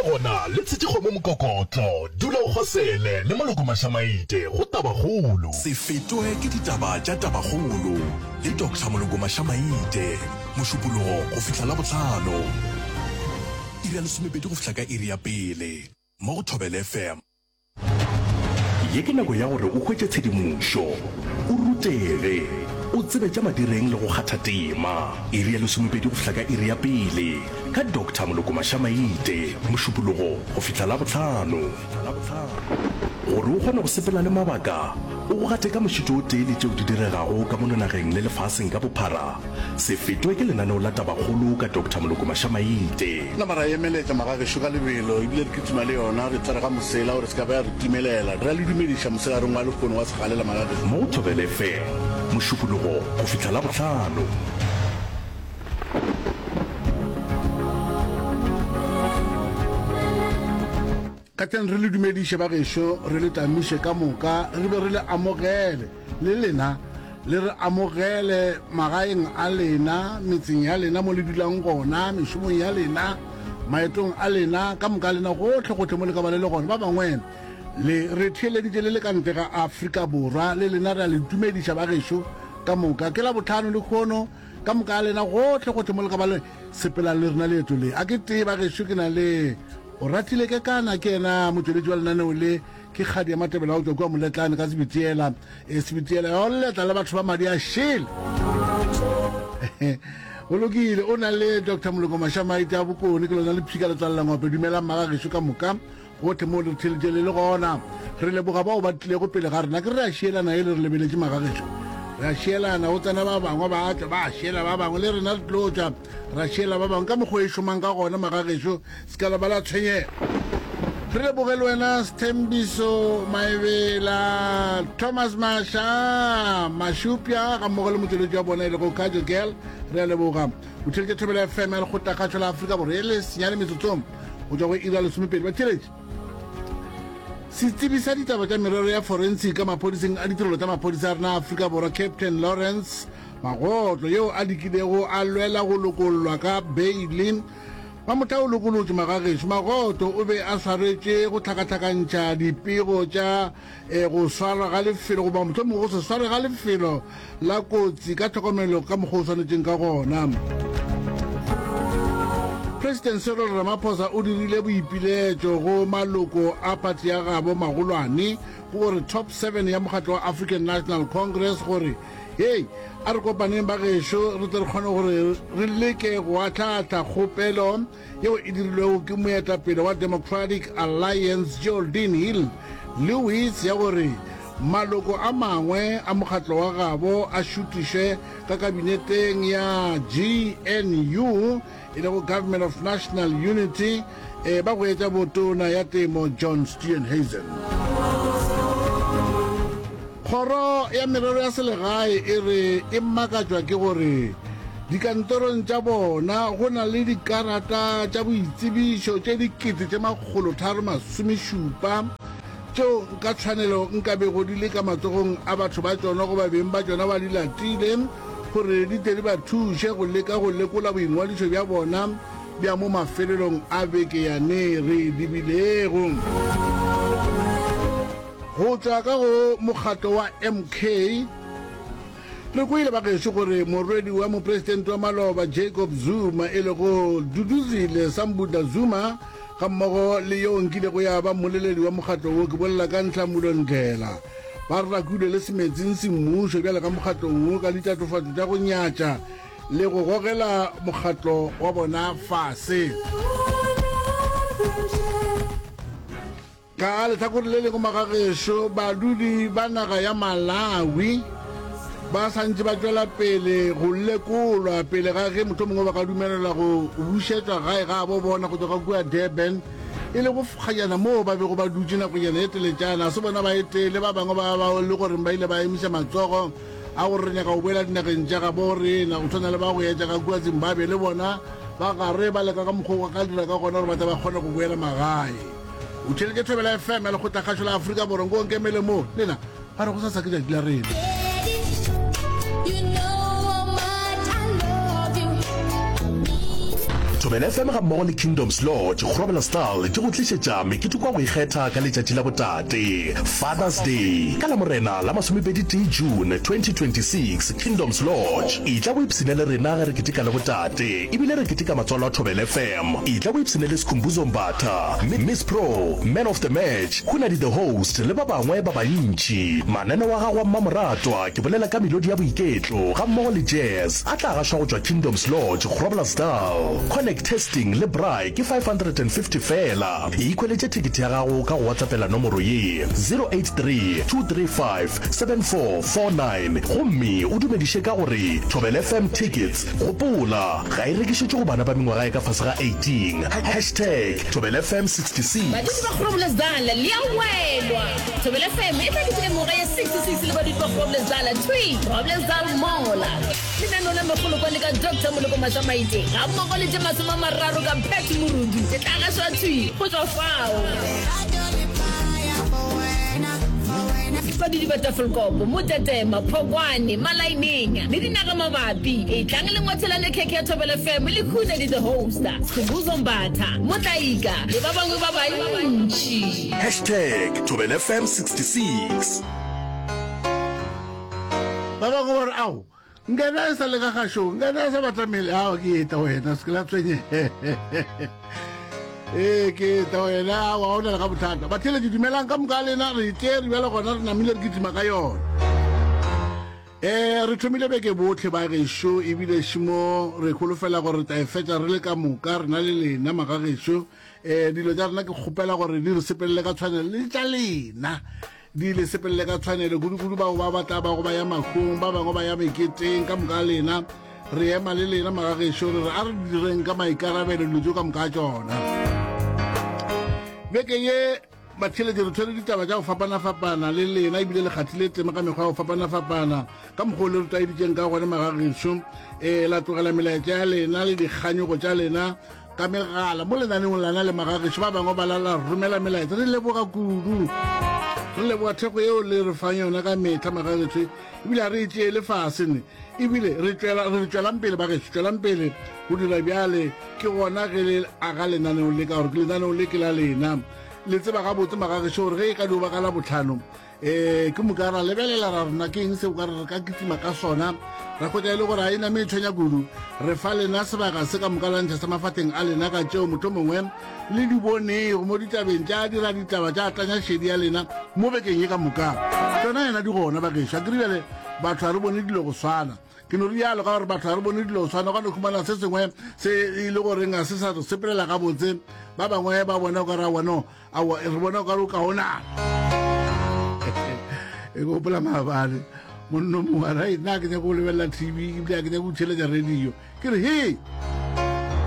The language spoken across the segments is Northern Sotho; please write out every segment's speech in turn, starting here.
Le gona le tshetše kgomo mokokotlo. Dula o kgosele le Moloko Mašamaite go Tabakgolo. Se fetwe ke ditaba tša Tabakgolo le Doctor Moloko Mašamaite, Mošupologo go fihla Labohlano, iri ya lesomepedi go fihla ka iri ya pele, mo go Thobela FM. Ye ke nako ya gore o hwetše tshedimošo, o rutege, o tsebe tša madireng le go kgatha tema. Iri ya lesomepedi go fihla ka iri ya pele ka Doctor Moloko Mašamaite, Mošupologo go fihla Labohlano. Gore o kgone go sepela le mabaka, o go gate ka mošito o tee le tšeo di diregago ka mono nageng le lefaseng ka bophara, Se fetwe ke lenaneo la Tabakgolo ka Doctor Moloko Mašamaite. Nama ra emeletša magagešo ka lebelo, ebile re kitima le yona, re tsere ga mosela gore se ka ba ya re timelela. Re a le dumediša mosegareng wa lehono wa segalela magagešo. Mo go Thobela FM, Mošupologo go fihla Labohlano. Ka tleng re le dumediše ba gešo, re le tamiše ka moka, re be re le amogele, le lena le re amogele magaeng a lena, metseng ya lena mo le dulang gona, mešomong ya lena, maetong a lena, ka moka lena gohle gohle mo le ka ba le le gona. Ba bangwe le re theeleditše le le ka ntle ga Afrika Borwa, le lena re a le dumediša ba gešo ka moka. Ke Labohlano lehono, ka moka lena gohle gohle mo le ka ba le sepelang le rena leeto le. A ke tee ba gešo ke na le Oratile Kekana, ke yena motšweletši wa lenaneo le, ke kgadi ya Matebele wa go tšwa kua Moletlane ka Sebitiela. E, Sebitiela ya go letla le batho ba madi a šele. Go lokile, o na le Doctor Moloko Mašamaite a Bokone, ke lona lephika le tswalela ngope. Dumelang magagešo ka moka, gohle moo le re theeletše le le gona. Re leboga bao ba tlilego pele ga rena. Ke re re a šielana e le re lebeletše magagešo. Re a šielana, go tsena ba bangwe ba tšwa, ba šiela ba bangwe, le rena re tlo tšwa ra šiela ba bangwe. Ka mokgwa e šomang ka gona magagešo, Se ka la ba la tshwenyega. Re leboge le wena Sthembiso Maebela, Thomas Masha, Mashupja ga mmogo le motšweletši wa bona e lego Kajo Girl. Re a leboga. O theletše Thobela FM ya Lekgotlakgašo la Afrika Borwa e le senyane metsotsong go tšwa go iri ya lesomepedi. Batheeletši, setsebi sa ditaba tša merero ya forensic ka maphodiseng a ditirelo tša maphodisa a rena a Afrika Borwa Captain Lawrence Magotlo yeo a lekilego a lwela go lokollwa ka beile Mamotla o lokolotšwe magagešo. Magoto o be a swaretše go hlakahlakantšha dipego tša go swarwa ga lefelo goba mohlomongwe go se swarwe ga lefelo la kotsi ka tlhokomelo ka mokgwa o swanetšeng ka gona. President Cyril Ramaphosa o dirile boipiletšo go maloko a phathi ya gabo magolwane go gore Top 7 ya mokgatlo wa African National Congress gore Hei, a re kopaneng ba gešo re tle re kgone gore re leke go ahlaahla kgopelo yeo e dirilwego ke moetapele wa Democratic Alliance Geraldine Hill Lewis ya gore maloko a mangwe a mokgatlo wa gabo a šutišwe ka kabineteng ya GNU e lego Government of National Unity, e ba go etša botona ya temo John Steenhuisen. Kgoro ya merero ya selegae e re e makatšwa ke gore dikantorong tša bona go na le dikarata tša boitsebišo tše 3607 tšeo ka tshwanelo nka bego di le ka matsogong a batho ba tšona goba beng ba tšona ba di latile gore di tle di ba thuše go leka go lekola boingwadišo bja bona bja mo mafelelong a beke yane re e lebilego. Go tšwa ka go mokgatlo wa MK, re kwele bagešo gore morwedi wa mopresidente wa maloba Jacob Zuma e lego Duduzile Sambudla Zuma gammogo le yo nkilego ya ba mmoleledi wa mokgatlo wo, ke bolela ka Nhlamulo Ndlela, Ba rakilwe le semetsing semmušo bjale ka mokgatlong wo ka ditatofatšo tša go nyatša le go gogela mokgatlo wa bona fase. Ka lehlakore le lengwe magagešo, badudi ba naga ya Malawi ba sa ntše ba tšwela pele go lekolwa pele ga ge mohlomongwe ba ka dumelelwa go bušetšwa gae gabo bona go tšwa ka kua Durban. e lego kgajana moo ba bego ba dutše nakonyana e teletšana. Se bona ba etee le ba bangwe ba bao le goreng ba ile ba emiša matsogo a gore re nyaka go boela dinageng tša gabo rena, go tshwana le ba go etša ka kua Zimbabwe, le bona ba gare ba leka ka mokgwa o ka dira ka gona gore ba tle ba kgone go boela magae. O theeletše Thobela FM ya Lekgotlakgašo la Afrika Borwa. Nko nkemele mo, lena ba re gosasa ke tšatši la rena. Thobela FM gammogo le Kingdoms Lodge, Groblersdal di go tlišetša meketeko ya go ikgetha ka letšatši la botate, Father's Day, ka Lamorena la masomepedi-tee June 2026, Kingdoms Lodge. Etla o ipshine le rena ge re keteka le botate ebile re keteka matswalo a Thobela FM. Etla o ipshine le Skhumbuzo Mbatha, Miss Pro, Man of the Match, Hunadi the Host le ba bangwe ba bantši. Mananeo a gago a mmamoratwa ke bolela ka melodi ya boiketlo gammogo le jazz a tla gašwa go tšwa Kingdoms Lodge, Groblersdal. Connect Testing le Braai ke 550 feela. Ikhweletše thekethe ya gago ka go WhatsAppela nomoro ye, 083 235 7449 gomme o dumediše ka gore Thobela FM Tickets. Gopola, ga e rekišetšwe go bana ba mengwaga ya ka fase ga 18. Hashtag Thobela FM 66. Badudi ba Groblersdal le a welwa! Thobela FM e tla keteka mengwaga ya 66 le badudi ba Groblersdal thwi Groblersdal Mall. Lenaneo la Megolokwane ka Doctor Moloko Mašamaite gammogo le tše 30 ka Pat Morudu e tla gašwa thwi go tšwa fao. Badudi ba Tafelkop, Motetema, Phokwane, Malaineng le dinagamabapi, etlang le ngwathelane khekhe ya Thobela FM le Khunedi the Host, Skhumbuzo Mbatha, Motlaika le ba bangwe ba bantši. Hashtag Thobela FM 66. Ba bangwe ba re, Ao, nkana e sa le ka gašong, nkana e sa batamele. Ao, ke eta wena, se ke la tshwenye. Ee, ke eta wena, ao, ga o na le ga bothata. Batheeletši, dumelang ka moka lena, re tšere bjale gona, re namile re kitima ka yona. Ee, re thomile beke bohle ba gešo, ebile šimo re holofela gore re tla e fetša re le ka moka, rena le lena magagešo. Ee, dilo tša rena ke kgopela gore di re sepelele ka tshwanelo le tša lena. Di le sepelele ka tshwanelo, kudu-kudu bao ba ba tla bago ba ya mahung, ba bangwe ba ya meketeng, ka moka ga lena. Re ema le lena, magagešo, re re a re direng ka maikarabelo dilo tšeo ka moka ga tšona. Beke ye, batheeletši, re tshwere ditaba tša go fapana-fapana le lena, ebile le kgathile tema ka mekgwa ya go fapana-fapana, ka mokgwa o le re tlwaeditšeng ka gona, magagešo. Ee, la tlogela melaetša ya lena le dikganyogo tša lena ka megala mo lenaneong lana le magagešo ba bangwe ba la romela melaetsa. Re leboga kudu, re leboga thekgo yeo le re fang yona ka metlha magagešo, ebile ga re e tšeele fase ne, ebile re tšwela re tšwelang pele bagešo, tšwelang pele go dira bjale. Ke gona ge le aga lenaneo le, ka gore ke lenaneo le ke la lena. Le tseba gabotse magagešo gore ge e ka dio ba ka Labohlano Ee, ke moka ra lebelela ra rena ke eng seo ka re re ka kitima ka sona, ra hwetša e le gore ga e name e tshwenya kudu. Re fa lena sebaka se ka moka la ntšha sa mafahleng a lena ka tšeo mohlomongwe le di bonego mo ditabeng tša dira ditaba tša tlanya šedi ya lena mo bekeng ye ka moka. Tšona yena di gona bagešo. A ke re bjale batho ga re bone dilo go swana. Ke no rialo ka gore batho ga re bone dilo go swana, gwa no humana se sengwe se e le goreng ga se sa re sepelela gabotse, ba bangwe ba bona o ka re aowa no, Aowa, re bona o ka re o kaonana. E ke gopola maabane monno mongwe a re nna ke nyako go lebelela TV ebile a ke nyako go theeletša radio. Ke re he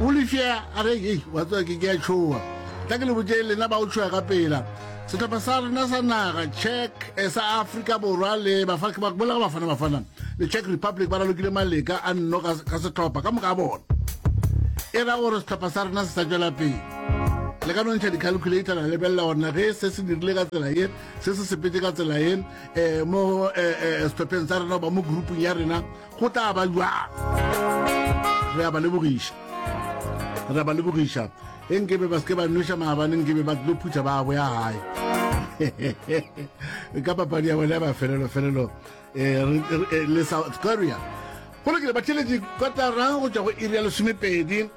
o lefea a re hei wa tseba ke ke a tšhoa. Tla ke le botše lena ba o tšhoa ka pela. Sehlopha sa rena sa naga Czech eh, sa Afrika Borwa le Bafana ke bolela ka Bafana Bafana le Czech Republic ba ralokile maleka a nno ka sehlopha ka moka a bona. E ra gore sehlopha sa rena se sa tšwela pele. Le ka no ntšha di-calculator la lebelela gore na ge se se dirile ka tsela ye, se se sepetse ka tsela ye, um mo um sehlopheng sa rena goba mo groupung ya rena go tla ba jwang. Re a ba lebogiša, re a ba lebogiša. E nkebe ba seke ba nweša maabane, nkebe ba tlo phutha ba boya gae ka papadi ya bona ya mafelelo felelo eh, le South Korea. Go lokile batheeletši, kotara go tšwa go iri ya lesomepedi.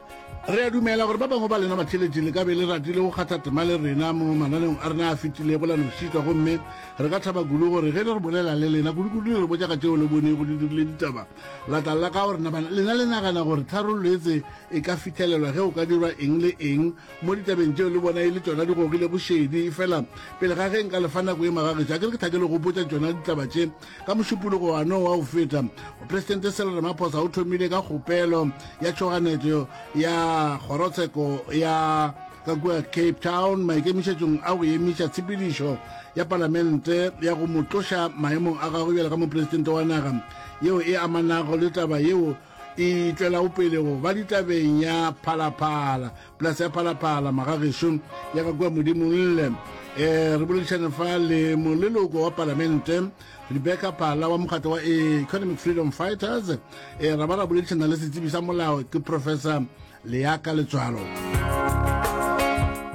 Re a dumela gore ba bangwe ba lena batheeletši le ka be le ratile go kgatha tema le rena mo mananeong a rena a fetilego la no šitwa, gomme re ka thaba kudu gore ge le re bolela le lena kudu-kudu le re botša ka tšeo le bonego di dirile ditaba la tla la ka gore na lena le nagana gore tharollo etse e ka fihlelelwa ge o ka dirwa eng le eng mo ditabeng tšeo le bona e le tšona di gogilego šedi. Efela pele ga ge nka le fa nako ye magagetšo, a ke re ke thake le gopotša tšona ditaba tše. Ka Mošupologo wano wa go feta, Mopresidente Cyril Ramaphosa o thomile ka kgopelo ya tšhoganetšo ya kgorotsheko ya ka kua Cape Town maikemišetšong a go emiša tshepedišo ya palamente ya go mo tloša maemong a gagwe bjalo ka mopresidente wa naga yeo e amanago le taba yeo e tšwelago pele go ba ditabeng ya Phalaphala. Polase ya Phalaphala, magagešo ya ka kua Modimolle. E, re boledišane fa le moleloko wa palamente Rebecca Phala wa mokgatlo wa Economic Freedom Fighters. E, ra ba ra boledišana le setsebi sa molao ke Professor Leaka Letswalo.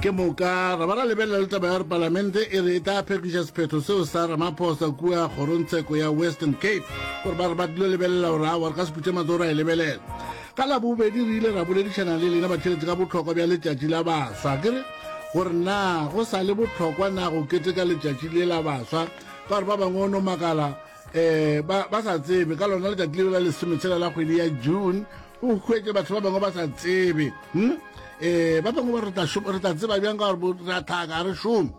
Ke moka ra ba ra lebelela le taba ya gore palamente e re e tla phekiša sephetho seo sa Ramaphosa kua kgorongtsheko ya Western Cape gore ba re ba tlilo lebelela gore aowa re ka se phuthe matsogo ra e lebelela. Ka Labobedi re ile ra boledišana le lena batheeletši ka bohlokwa bja letšatši la baswa. Ke re gore na go sa le bohlokwa na go keteka letšatši le la baswa ka gore ba bangwe o no makala um ba, ba sa tsebe ka lona letšatši leo la lesometshela la kgwedi ya June o hwetše batho ba bangwe ba sa tsebe hmm? um ba bangwe ba re tla tseba bjang ka gore re a thaka ga re šome.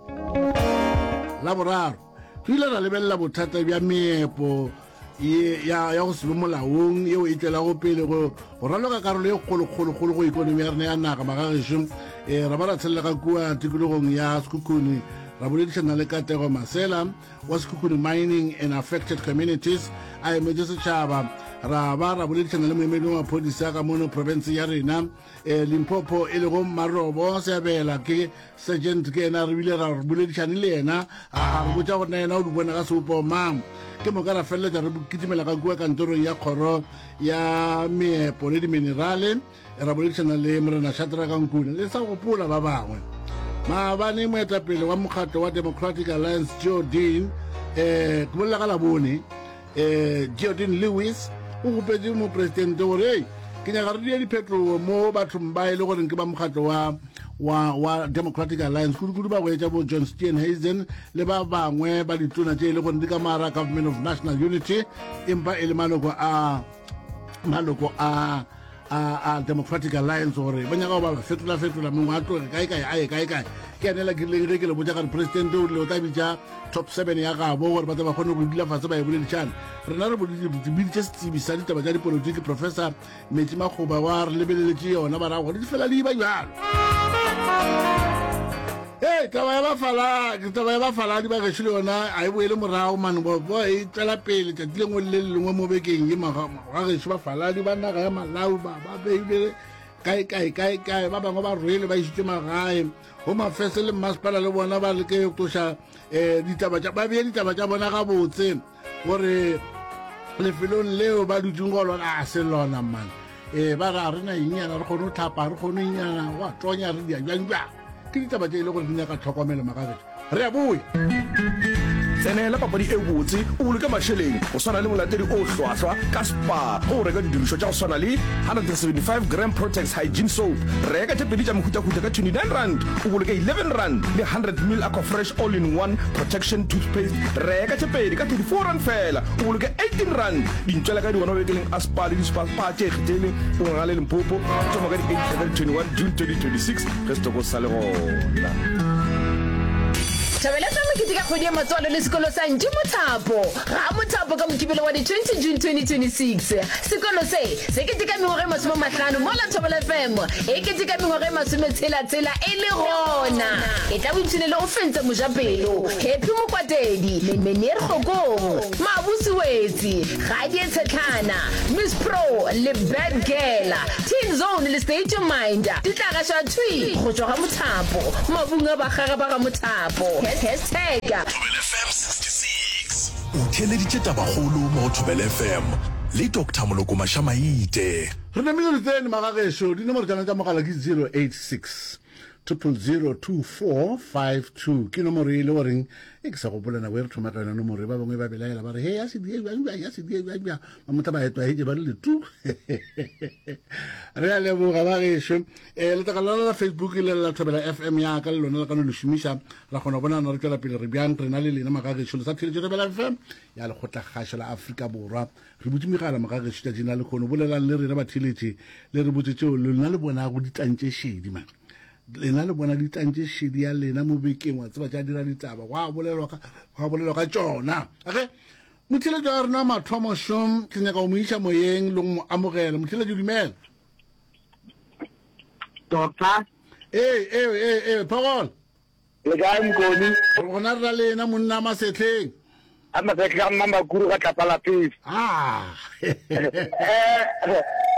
La boraro re ile ra lebelela bothata bja meepo ye ya ya go se be molaong yeo e tšwelago pele go go raloka karolo ye kgolokgolokgolo go ikonomi ya rena ya naga magagešo. Um ra ba ra tshelela ka kua tikologong ya Sekhukhune ra boledišana le Katlego Masela wa Sekhukhune Mining and Affected Communities a emetše setšhaba. Ra ba ra boledišana le moemedi wa maphodisa ka mono profenseng ya rena um Limpopo e lego Mmarobo Seabela ke Sergeant ke yena re bile ra boledišane le yena a re botša gore na yena o di bona ka sebopo mang. Ke moka ra feleletša re kitimela ka kua kantorong ya kgoro ya meepo le diminerale ra boledišana le Morena Shadrack Nkuna le sa gopola ba bangwe. Maabane moetapele wa mokgatlo wa Democratic Alliance Joe Dean eh ke bolela ka Labone eh Geordin Lewis o gopetše mopresidente gore ei ke nyaka re die diphetogo mo bathong ba e le goreng ke ba mokgatlo wa wa wa Democratic Alliance kudu-kudu ba go etša bo John Steenhuisen le ba bangwe ba ditona tše e le gore di ka mara Government of National Unity empa e le maloko a maloko a a, a Democratic Alliance gore ba nyaka go ba ba fetola-fetola mongwe a tloge kae kae a ye kae kae. Ke ene la kirileng ge ke le botša gare presidente o rile o tla bitša top 7 ya gabo gore ba tle ba kgone go dula fase ba e boledišana. Rena re biditše setsebi sa ditaba tša dipolotiki Professor Metsi Makgoba wa re lebeleletše yona ba ra gore di fela di ba bjalo. Hey, taba ya bafala, taba ya bafaladi ba gešo le yona a e boele morago mane bo bo e tšwela pele tšatši lengwe le le lengwe mo bekeng ye ga gešo bafaladi ba naga ya Malawi ba ba beile kae kae kae kae ba bangwe ba rwele ba išitše magae go mafese le mmasepala le bona ba leke go tloša um ditaba tša ba beye ditaba tša bona gabotse gore lefelong leo ba dutseng go lona a se lona man ee ba re a re na enyana re kgone go tlhapa re kgone enyana go a tonya re dia bjang bjang ke ditaba tše e le gore di nyaka tlhokomelo magabetso re a boya Tsenela papadi e botse o boloke mašeleng go swana le molatedi o hlwahlwa ka Spar ge o reka didirišwa tša go swana le 175 gram Protex Hygiene Soap. Reka tše pedi tša mehutahuta ka R29 o boloke R11 le 100 ml Aquafresh All-in-One Protection Toothpaste Reka tše pedi ka R34 feela, o boloke R18. Dintšwela ka di gona mabenkeleng a Spar le di-Spar Spar tše ikgethele o Ngangale Limpopo. Di thoma ka di 8 go ya ka di 21 June 2026 ge setoko se sa le gona. Thabela fa mokete ka kgwedi ya matswalo le sekolo sa Ntši Mothapo ga Mothapo ka Mokibelo wa di 20 June 2026. Sekolo se se keteka mengwaga e masomemahlano mola Thobela FM e keteka mengwaga e masometshela-tshela e le gona. E tla boipshinele o fentse mojapelo Happy Mokwatedi, Meneer Kgokong, Mabusi Wetsi, Gadie Tshetlhana, Miss Pro le Bad Girl, Teen Zone le State Your Mind di tla gašwa thwi go tšwa ga Mothapo, mabung a bakgaga ba ga Mothapo. Hashtag. Thobela FM 66. O theeleditše tabakgolo mo go Thobela FM le Doctor Moloko Mašamaite. Re namile re tsene magagešo, dinomoro tša rena tša mogala ke 086 000 2452 ke nomoro e le goreng e ke sa gopola nako e re thoma ka yona nomoro e ba bangwe ba belaela ba re he ya sedie bjang bjang ya sedie bjang bjang ba motla ba etwaetše ba re letu re a leboga ba gešo um letlakala la la facebook le la thobela fm ya ka le lona le ka no le šomiša ra kgona go bonana re tšwela pele re bjang rena le lena magagešo le sa theletše thobela fm ya lekgotlakgašo la afrika borwa Re butše megala mogagešo tšatšing la lekgono. Bolelang le rena batheeletši le re botše tšeo lena le bonago ditang tše šedi. Man, lena le bona ditang tše šedi ya lena mo bekeng, wa tseba tša dira ditaba, gwa bolelwa ka, gwa bolelwa ka tšona. Okay? Motheeletši wa rena mathomo šom, ke nyaka go mo iša moyeng le go mo amogela. Motheeletši dumela. Doctor. Ee, ee, ee, ee, Phogolo. Le kae Mokoni? Re gona re na le yena monna Masetleng. A Masetleng a mma Makuru ga tlapa la pele. Ah. Eh,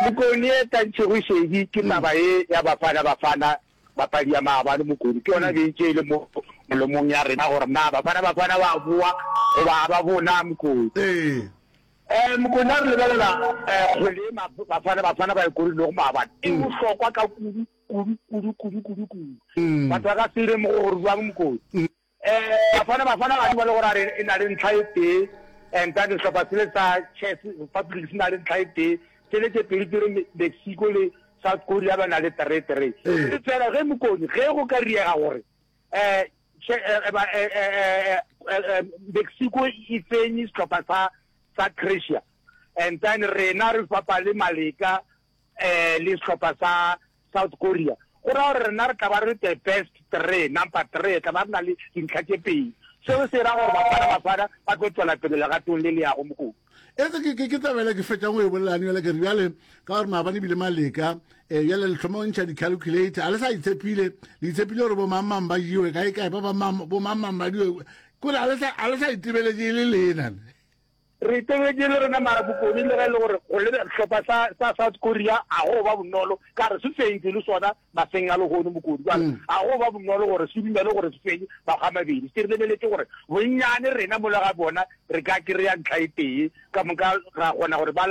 Mokoni e tantšego šedi ke taba ye ya Bafana Bafana papadi ya maabane Mokoni. Ke yona be e le mo molomong ya rena gore na Bafana Bafana ba boa goba ga ba boe na Mokoni. Ee. Um Mokone a re lebelela um kgwele e Bafana Bafana ba e korilego maabane e bohlokwa ka kudu kudu kudu kudu kudu kudu. Batho ba ka se lemoge gore bjang Mokone. Um Bafana Bafana ga di ba le gore a re e na le ntlha e tee and then sehlopha sele sa Czech Republic se na le ntlha e tee, tsele tše pedi tse re Mexico le South Korea ba na le three three. E fela ge Mokone ge go ka riega gore um Mexico e fenye sehlopha sa sa Croatia and then rena re bapale Maleka um le sehlopha sa South Korea go ra gore rena re tla ba re the best three number three tla ba re na le dintlha tše pedi seo se ra gore Bafana Bafana ba tlo tswela pele legatong le le yago Mokone. Etse ke ke ke tabela ke fetšang go e bolelane bjale ke re bjale ka gore maabane ebile maleka um bjale le tlhoma go ntšha di-calculator a le sa itshepile le itshepile gore bomangmang ba jewe kae kae ba bamang bomangmang ba diwe kore a le sa a le sa itebeletše e le lena Re itebetše le rena mara bokone le ge e le gore go lebe sehlopha sa sa South Korea a go ba bonolo ka re se fentše le sona maseng a lehono Mokodi jwale a go ba bonolo gore se dumele gore se fenye makga a mabedi se re lebeletše gore bonnyane rena mola ga bona re ka kry-a ntlha e tee ka moka ra kgona gore ba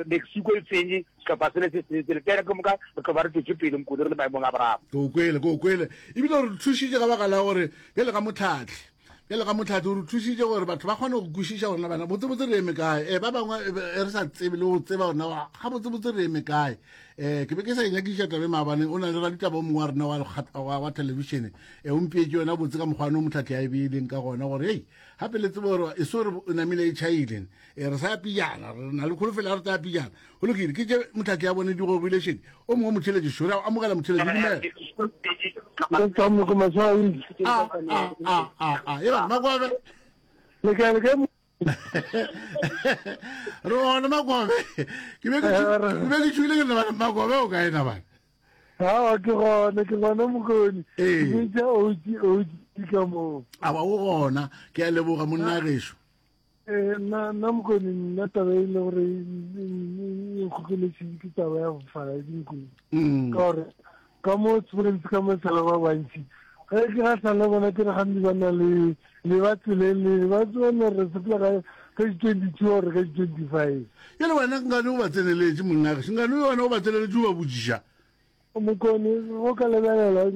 Mexico e fenye sehlopha sele se sele sele pele ka moka re tlo ba re tšwetše pele Mokodi re le maemong a boraro. Ke o kwele ke o kwele ebile re thušitše ka baka la gore bjale ka motlhatlhi Bjale ka Motlhatse o re thušitše gore batho ba kgone go kwešiša gore na bana botsebotse re eme kae. E, ba bangwe e re sa tsebe le go tseba gore na gabotsebotse re eme kae. Um ke be ke sa e nyakišiša tabe maabane, o na le raditaba o mongwe wa rena wa, wa, wa thelebišene e o mpeetše yona botse ka mokgwa no Motlhatse a e beileng ka gona gore hei gape le tsebe gore e so re o namile e tšhaile e re sa ya pijana re na le kholofelo ya re tla pijana go lokile ke tše Motlhatse ya bone di gobile šedi o mongwe motheletši šore a amogela motheletši dumela a a a a a e bana makobe Le kae le kae? re gona makobe ke be ke ke be ke tšhogile ke re bana makobe o kae na bana Awa ke gona ke gona mokoni. Ee. Ke bitša OG OG ka moo. awa o gona ke a leboga monna gešo Eh, nna nna mokoni nna taba e le gore e nkgokeletše ke taba ya bofaladi mokoni Mm. ka gore ka mo Springs ka mo sala ba bantši ge ke gahlana le bona ke re gantsi ba na le le ba tseleng le ba tsebane re sepela ka ka di-twenty-two or ka di-twenty-five Jale wena nkane o ba tseneletše monna gešo nkane wena o ba tseneletše o ba botšiša Mokone, go ka lebelela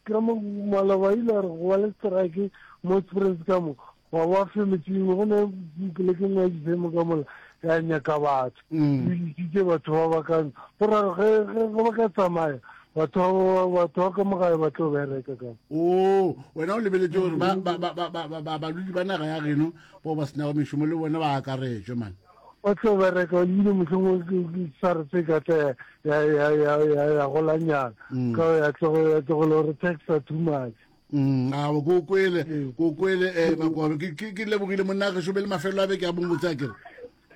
ka mo maloba ile re go ba le strike mo Springs ka mo wa ba femetseng go ne poleke nngwe ya difemo ka mola ya nyaka batho mm. e isitse batho ba ba kang go ra ge ge ba ka tsamaya batho batho ba ka mo gae ba tlo bereka ka o wena o lebeletse gore ba ba ba ba ba badudi ba naga ya geno bao ba senago mešomo le bona ba akaretšwe man Ba tlo bereka ebile mohlomongwe sare se ka tla ya golanyana mm. ka ya tlogela gore taxa too much. Mm, a ko kwele ko kwele eh makobe ke ke lebogile monna ge shobele mafelo a beke a bongotse a kere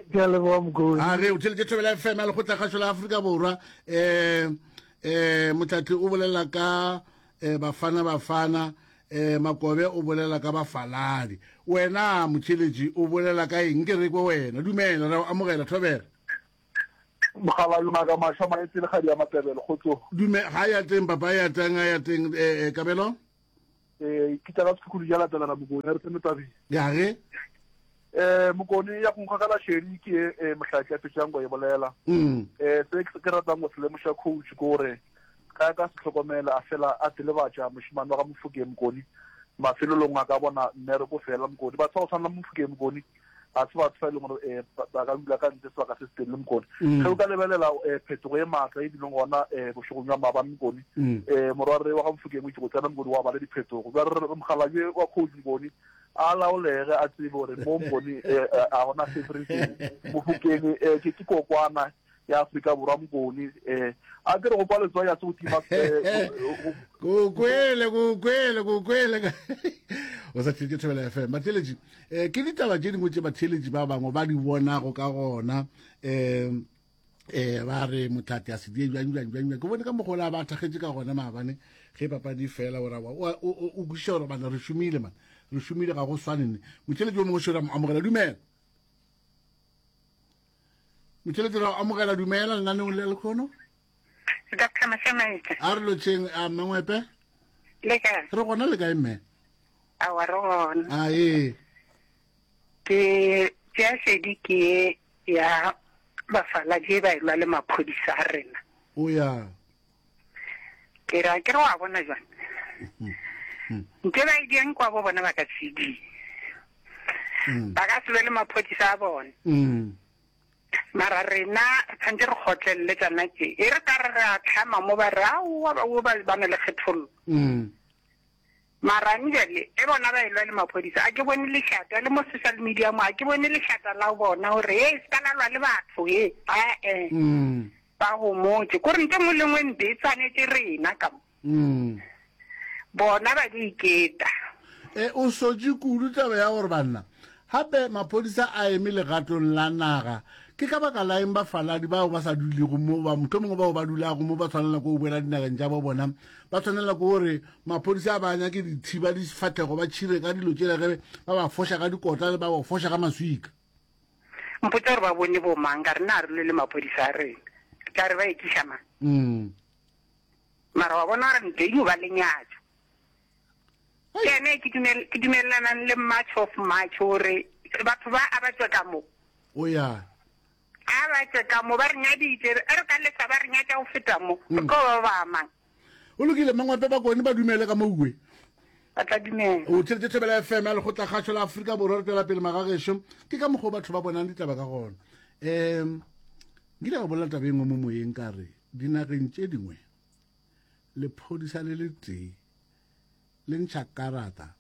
ke a leboga mokone a re o theletše thobela fm ya lekgotla kgašo la Afrika Borwa eh eh motlatli o bolela ka eh bafana bafana Eh, Makobe o bolela ka bafaladi. Wena motheeletši o bolela ka eng? Ke re kwe wena. Dumela, re a o amogela, Thobela. Mogala Ngaka Masha Maetse le Kgadi ya Matebele, kgotsong. Dume, ga ya teng papa, ya teng, ya teng, eh, eh, Kabelo? Eh, ke tla ka sekhukhulu ja latelana Mokone, re tsene tabeng. Ya ge? Eh, Mokone ya go nkgogela šedi ke eh, mohlatli a fetšang go e bolela. Mm. Eh, se ke ratang go se lemoša coach ke gore Ge a ka se hlokomele a fela a telebatša mošemane wa ga Mofokeng Mokoni, mafelelong a ka bona mmereko fela. Mokoni, batho ba go tshwana le Mofokeng Mokoni ga se batho ba e leng gore ba ka dula ka ntle sebaka se se telele. Mokoni, ge o ka lebelela phetogo e maatla e bileng gona bošegong bja maabane Mokoni, morwarre wa ga Mofokeng o itše go tsena Mokoni wa ba le diphetogo. Bjale re re mokgalabje wa coach Mokoni a laolege a tsebe gore mo Mokoni ga gona favoritism. Mofokeng ke kokwana ya Afrika Borwa Mokone eh a ke re go kwa letswai a se go tima eh, ko kwele ko kwele ko kwele o sa theletše Thobela FM batheletši eh ke ditaba tše dingwe tše batheletši ba bangwe ba di bonago ka gona eh eh ba re motlate a se die bjang bjang bjang bjang ke bone ka mogola ba thakgetše ka gona maabane ge papadi fela o ra o o kwešiša gore bana re šomile man re šomile ga go swane ne motheletši o mongwe šora amogela dumela Motšheletše ra amogela dumela lenaneong le lekgono. Dr. Mashamaite. A re lotšheng a mme Ngwepe. Le kae? Re gona le kae mme? Awa re gona. A ee. Ke Tšea šedi ke ye ya bafaladi e ba elwa le maphodisa a rena. O ya. Ke re, a ke re wa bona jwang? Nte ba e diang kwa bo bona ba ka se die. Ba ka se lwe le maphodisa a bona. Mara rena re tshwanetse re kgotlelele tsona tše. E re ka re re a tlhama mo ba re aowa ba ba ba na le kgethollo. Mara bjale e bona ba elwa le maphodisa a ke bone lešata le mo social media mo a ke bone lešata la bona gore he se ka la lwa le batho he ae ba homotše kore nto nngwe le nngwe mpe e tshwanetše rena ka mo bona ba di iketa. E o sotše kudu taba ya gore banna gape maphodisa a eme legatong la naga ke ka baka la eng bafaladi bao ba sa dulego mo ba mohlomongwe bao ba dulago mo ba tshwanela ke go boela dinageng tša bo bona ba tshwanela ke gore maphodisa a ba nyake dithiba difahlego ba tšhire ka dilo tšela ge ba ba foša ka dikota le ba ba foša ka maswika. Mpotša gore ba bone bo mang, ka re na re lwe le maphodisa a rena, re tla re ba ekiša mang? Mara wa bona gore ntho e dio ba lenyatšo. Ke ene ke dumel, ke dumelelanang le March of March gore batho ba a ba tšwe ka mo. O ya. A ba tšwe ka mo, ba re nyaditše, re re ka lesa ba re nyatša go feta mo, re tlo ba ba mang? Go lokile, Mangwape Bakone ba dumele ka mouwe. Ba tla dumela. O theletše Thobela FM ya Lekgotlakgašo la Afrika Borwa re tšwela pele magagešo. Ke ka mokgwa o batho ba bonang ditaba ka gona. Um nkile ka bolela taba e nngwe mo moyeng ka re dinageng tše dingwe lephodisa le letee le ntšha karata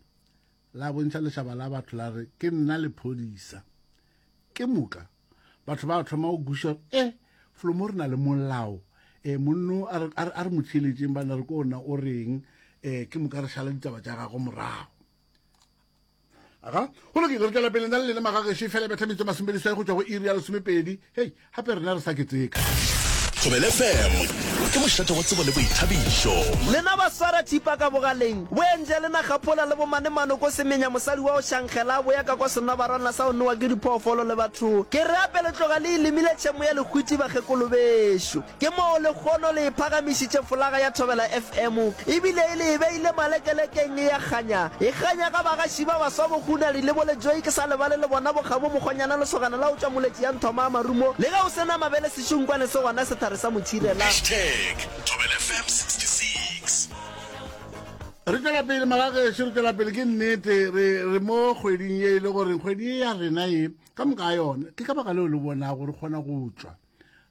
la bontšha lešaba la batho la re ke nna lephodisa. Ke moka batho ba thoma go kwešiša gore e felo mo re na le molao um monno a re mo theeletšeng bana re ko ona o reng um ke moka re šala ditaba tša gago morago aga go lokile re tšwela pele nna le lena magagešo fela betha metso masomepedi go tšwa go iri ya lesomepedi hei gape rena re sa keteka Thobela FM ke mošate wa tsebo le boithabišo. Lena ba swara thipa ka bogaleng, bo entše le nagaphola le bomanemano ko semenya mosadi wa go šankgela a boya ka kwa senobarwana sa go nowa ke diphoofolo le batho. Ke re ape le tloga le e lemile tšhemo ya lehwiti bakgekolo bešo. Ke moo lekgono le e phagamišitše folaga ya Thobela FM ebile e le e beile malekelekeng e a kganya. E kganya ka bagaši ba baswa bo Hunadi le bo Lejoe ke sa lebale le bona bo Kgabo Mokgonyana lesogana la go tšwa Moletši ya Nthoma a Marumo le ge o se na mabele sešunkwane se gona sethare sa motšhirela. Hashtag Thobela FM 66. Re tšwela pele magagešo, re tšwela pele ke nnete re re mo kgweding ye e le gore kgwedi ye ya rena ye ka moka ga yona ke ka baka leo le bonago re kgona go tšwa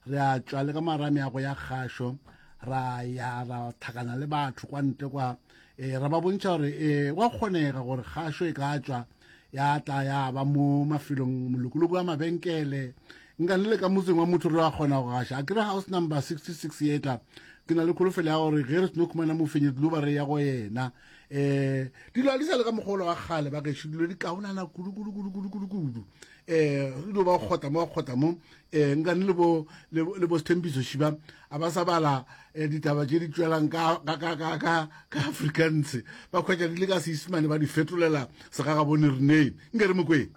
re a tšwa le ka mara meago ya kgašo ra ya ra tlhakana le batho kwa ntle kwa um ra ba bontšha gore um wa kgonega gore kgašo e ka tšwa ya tla ya ba mo mafelong molokoloko wa mabenkele nka le le ka motseng wa motho re wa kgona go gaša a kere house number 66 ye tla ke na le kholofelo ya gore ge re seno khumana mofenyi dilo ba re ya go yena um dilo a di sa le ka mogolo wa kgale ba gešo dilo di kaonana kudu kudu kudu kudu kudu kudu um dilo ba kgotla mo ba kgotla mo um nkane le bo le bo Sthembiso Shiba a ba sa bala eh, ditaba tše di tšwelang ka ka ka ka ka ka Afrikaans ba khwetša di le ka Seisemane ba di fetolela segagabone reneng nke re mokweng.